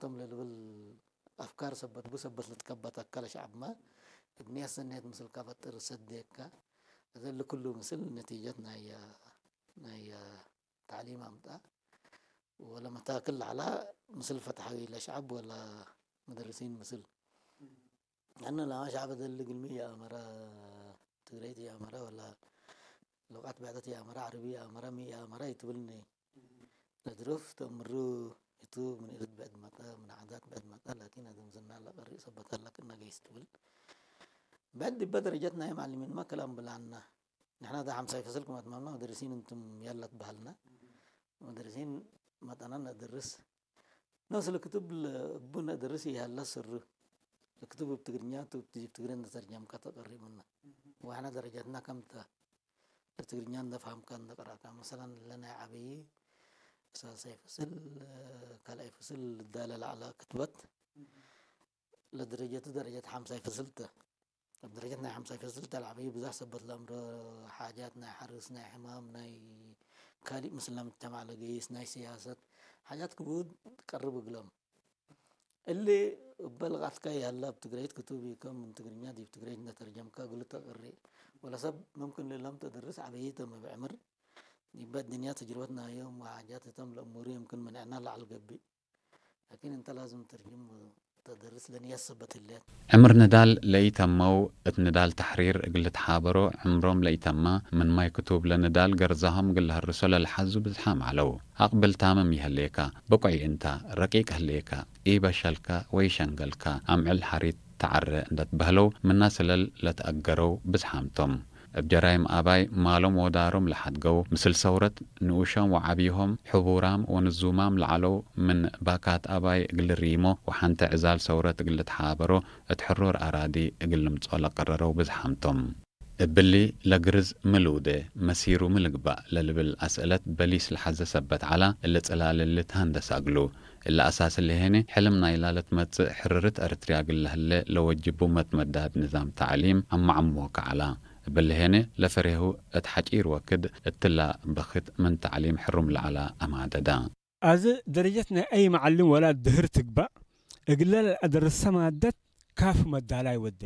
እቶም ለልብል ኣፍካር ሰበት ብሰበት ልትከበት ኣካል ሸዓብማ እድንያ ሰናየት ምስል ካፈጥር ሰደካ እዘ ልክሉ ምስል ነቲጀት ናይ ናይ ታዕሊም ኣምጣ ወለ መታክል ላዕላ ምስል ፈትሓዊ ለሸዓብ ወላ መደርሲን ምስል ኣነ ላማ ሸዓብ ዘል ግልሚ የኣመራ ትግረይቲ የኣመራ ወላ ሉቃት ብዕደት የኣመራ ዓረቢ የኣመራ ሚ የኣመራ ይትብልኒ ለድሩፍ ተምሩ እቱ ምን እርድ ብዕድ መጣ ምን ዓዳት ብዕድ መጣ ላኪን ኣዘምዘና ለቀሪ ሰበታ ላክ እናገይስ ትብል ብዕድ ዲበ ደረጀት ናይ ማዕልሚን ማ ከላም ብላና ንሕና ዳ ሓምሳይ ፈስል ክማት ማማ መደርሲን እንቱም ያላት ባህልና መደርሲን መጣና ነደርስ ነፍስ ለክቱብ እቡ ነደርስ ይሃላ ስሩ ለክቱብ ብትግርኛ ቱብ ትጅብ ትግረ እንደተርጀምካ ተቀሪቡና ዋሕና ደረጃትና ከምታ ለትግርኛ እንደፋህምካ እንደቀራእካ መሰላን ለናይ ዓብዪ ሳልሳይ ፍስል ካልኣይ ፍስል ልዳለ ላዕላ ክትበት ለደረጀቱ ደረጀት ሓምሳይ ፍስልተ ኣብ ደረጀት ናይ ሓምሳይ ፍስልተ ለዓብዪ ብዙሕ ሰበት ለምሮ ሓጃት ናይ ሓርስ ናይ ሕማም ናይ ካሊእ ምስላ ምጅተማዕ ለገይስ ናይ ስያሰት ሓጃት ክብኡ ቀርብ እግሎም እሊ እበ ልቃትካ ይሃላ ኣብ ትግረይት ክቱብ እዩ ከም ምን ትግርኛ ዲብ ትግረይት እንደተርጀምካ እግሉ ተቅሪ ወለሰብ መምክን ልሎም ተድርስ ዓበይቶም እብ ዕምር ይበ ድንያ ተጅርበት ናዮም ወሓጃት እቶም ለእሙሩ የምክን መንዕና ላዕል ገብእ ላኪን እንተ ላዝም ተርጅም ተደርስ ለንያስ ሰበት ህለት ዕምር ንዳል ለኢተመው እት ንዳል ተሕሪር እግል ልትሓበሮ ዕምሮም ለኢተማ ምን ማይ ክቱብ ለንዳል ገርዛሆም እግል ለሀርሶ ለልሓዙ ብዝሓም ዐለው። አቅብል ታምም ይሀሌካ፣ ብቁይ እንታ፣ ረቂቅ ህሌካ፣ ኢበሸልካ ወይ ሸንገልካ፣ አምዕል ሐሪት ተዐረ እንደትበህለው ምና ስለል ለትአገረው ብዝሓምቶም። እብ ጀራይም አባይ ማሎም ወዳሮም ለሓድገው፣ ምስል ሰውረት ንኡሾም ወዓብይሆም፣ ሕቡራም ወንዙማም ለዐለው ምን ባካት አባይ እግል ሪሞ ወሐንተ ዕዛል ሰውረት እግል ልትሓበሮ እት ሕሩር አራዲ እግል ልምጾ ለቀረረው ብዝሓምቶም። እብሊ ለግርዝ ሚ ልውዴ፣ መሲሩ ሚ ልግባእ ለልብል አስእለት በሊስ ለሐዘ ሰበት ዐላ፣ እሊ ጽላል እሊ ተሀንደሳ እግሉ። እሊ አሳስ እሊ ሄኒ፣ ሕልም ናይላ ለትመጽእ ሕርርት ኤረትርያ እግል ለህሌ ለወጅቡ መትመዳድ ንዛም ተዕሊም አማዕምወካ ዐላ። እብሊ ሄኒ ለፈሬሁ እት ሐጪር ወክድ እትላ በክት ምን ተዕሊም ሕሩም ለዐላ አማደዳ። አዚ ደረጀት ናይ አይ መዓልም ወላ ድህር ትግባእ እግለ ለአደርሰ ማደት ካፍ መዳላይ ወዴ።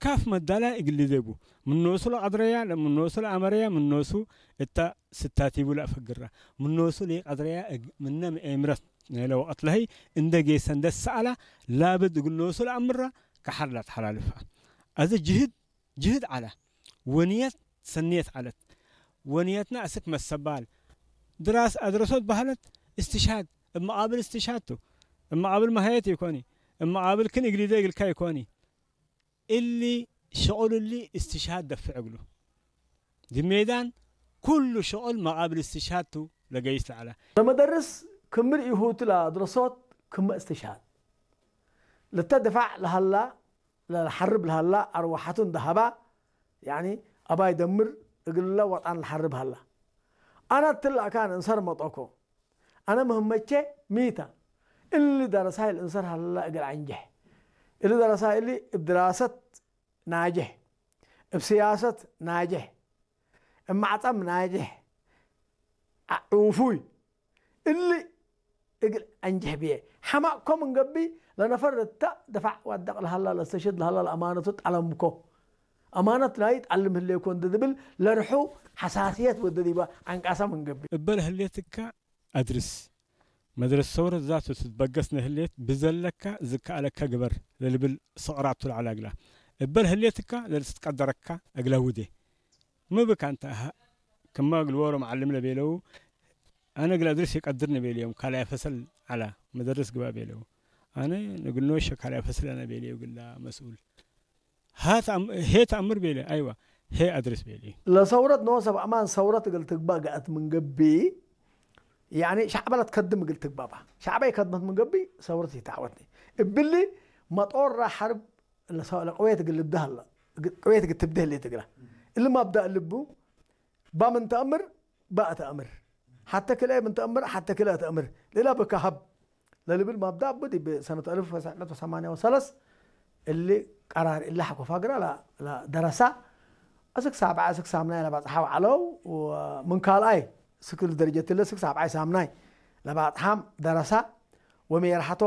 ካፍ መዳላይ እግሊ ዜቡ። ምኖሱ ለቀድረያ፣ ምኖሱ ለአመረያ፣ ምኖሱ እታ ስታቲቡ ለአፈግራ። ምኖሱ ለቀድረያ እግ-፣ ምነ ምኤምረት ናይለ ወቀት ለህይ እንደ ጌሰ እንደ ሰአላ ላብድ እግል ኖሱ ለአምራ ከሐር ለአትሐላልፋ። አዚ ጅህድ ጅህድ ዐለ። ወንየት ሰንየት ዐለት። ወንየትና አስክ መሰባል። ድራስ አድረሶት በህለት እስትሽሃድ፣ እብ መቃብል እስትሽሃድ ቱ። እብ መቃብል መሃየት ኢኮኒ። እብ መቃብል ክን እግሊደ እግልካ ኢኮኒ። እሊ ሸቁል እሊ እስትሽሃድ ደፍዕ እግሉ። ዲ ሜዳን ኩሉ ሸቁል መቃብል እስትሽሃድ ቱ ለገይስ ለዐለ። ለመደርስ ክምር ኢሁቱ ለአድረሶት ክመ እስትሽሃድ። ለተ ድፋዕ ለሀላ ለሐርብ ለሀላ አርወሐቱ እንደ ሀባ፣ ያኒ አባይ ደምር እግልለ ወጣን ለሐርብ ሀላ። አነ እትለ አካን እንሰር መጦኮ። አነ ምህመቼ ሚታ። እሊ ደረሳይ ልእንሰር ሀላ እግል አንጀሕ። እሊ ደረሳይ እሊ እብ ድራሰት ናጀሕ፣ እብ ስያሰት ናጀሕ፣ እብ ማዕጠም ናጀሕ፣ ዑፉይ እሊ እግል አንጀሕ ብዬ። ሐማቅኮ ምን ገብእ ለነፈር እተ ደፋዕ ዋደቅ ለሀላ ለስተሽድ ለሀላ ለአማነቱ ጠለምኮ። አማነት ናይ ጠልም ህሌኮ እንደ ድብል ለርሑ ሐሳስየት ወደ ዲባ አንቃሳ ምን ገብእ። እበ ለህሌትካ አድርስ። መድረስ ሰውረት ዛቱ ትትበገስ ነህሌት ብዘለካ ዝከኣለካ ግበር ለልብል ሰቕራቱ ለዐላ እግላ። እበ ለህሌትካ ለልትትቀደረካ እግላ ውዴ። ምብካ እንተ አሃ ክመ እግል ዎሮ መዓልም ለቤለው፣ አነ እግል አድርስ ይቀድር ንቤልዮም ካልኣይ ፈሰል ዐላ መደርስ ግባ ቤለው። አነ ንግል ኖሸ ካልኣይ ፈሰል አነ ቤልዮ እግላ መስኡል። ሀ ተአም-፣ ሄ ተአምር ቤለ፣ አይዋ፣ ሄ አድርስ ቤለ። ለሰውረት ኖ ሰብ አማን ሰውረት እግል ትግባእ ገአት ምን ገብእ፣ ያኒ ሻዕበ ለትከድም እግል ትግባእ ባ። ሻዕበ ይከድመት ምን ገብእ ሰውረት ይታወትኒ። እብሊ መጦራ ሐርብ ለሰ-፣ ለቅዌት እግል ልብዳ ሀላ፣ እግ-፣ ቅዌት እግል ትብደህ ሌት እግላ። እሊ ማብዳእ ልቡ፣ ባ ምን ተአምር፣ ባ ተአምር። ሐተ ክልኤ ምን ተአምር፣ ሐተ ክልኤ ተአምር። ሌላ በካ ሀብ። ለልብል ማብዳ እቡ ዲብ ሰነት አልፍ ወተስዕ መእት ወሰማንያ ወሰለስ እሊ ቀራር እሊ ሐኮ ፋግራ ለ-፣ ለደረሳ እስክ ሳብዐ እስክ ሳምናይ ለባጽሓው ዐለው ወምን ካልኣይ እስክ ደረጀት እለ እስክ ሳብዓይ ሳምናይ ለባጽሓም ደረሳ ወሜርሐቶም